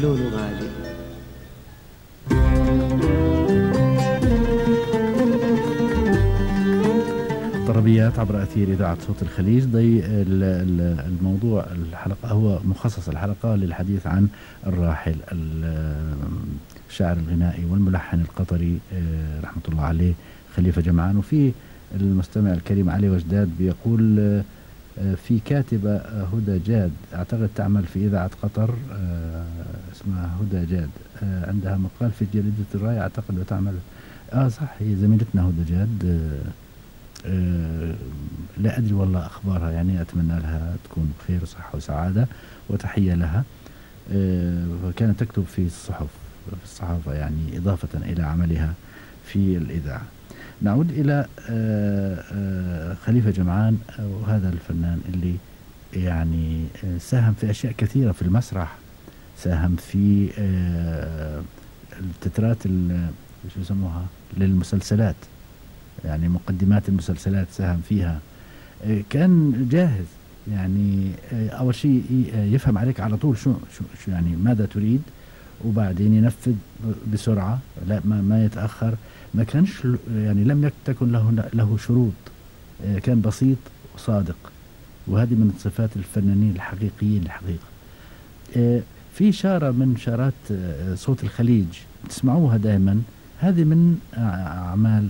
لولو غالي. طربيات عبر أثير إذاعة صوت الخليج. الموضوع الحلقة هو مخصص الحلقة للحديث عن الراحل الشاعر الغنائي والملحن القطري رحمة الله عليه خليفة جمعان. وفي المستمع الكريم علي وجداد بيقول في كاتبة هدى جاد أعتقد تعمل في إذاعة قطر اسمها هدى جاد عندها مقال في جريدة الراية أعتقد وتعمل صح هي زميلتنا هدى جاد. لا أدري والله أخبارها يعني أتمنى لها تكون بخير وصحة وسعادة وتحية لها. وكانت تكتب في الصحافة يعني إضافة إلى عملها في الإذاعة. نعود إلى خليفة جمعان وهذا الفنان اللي يعني ساهم في أشياء كثيرة في المسرح. ساهم في التترات شو يسموها للمسلسلات يعني مقدمات المسلسلات ساهم فيها. كان جاهز يعني أول شيء يفهم عليك على طول شو يعني ماذا تريد وبعدين ينفذ بسرعة لا ما يتأخر. ما كانش يعني لم تكن له شروط. كان بسيط وصادق وهذه من صفات الفنانين الحقيقيين الحقيقة. في شارة من شارات صوت الخليج تسمعوها دائما. هذه من أعمال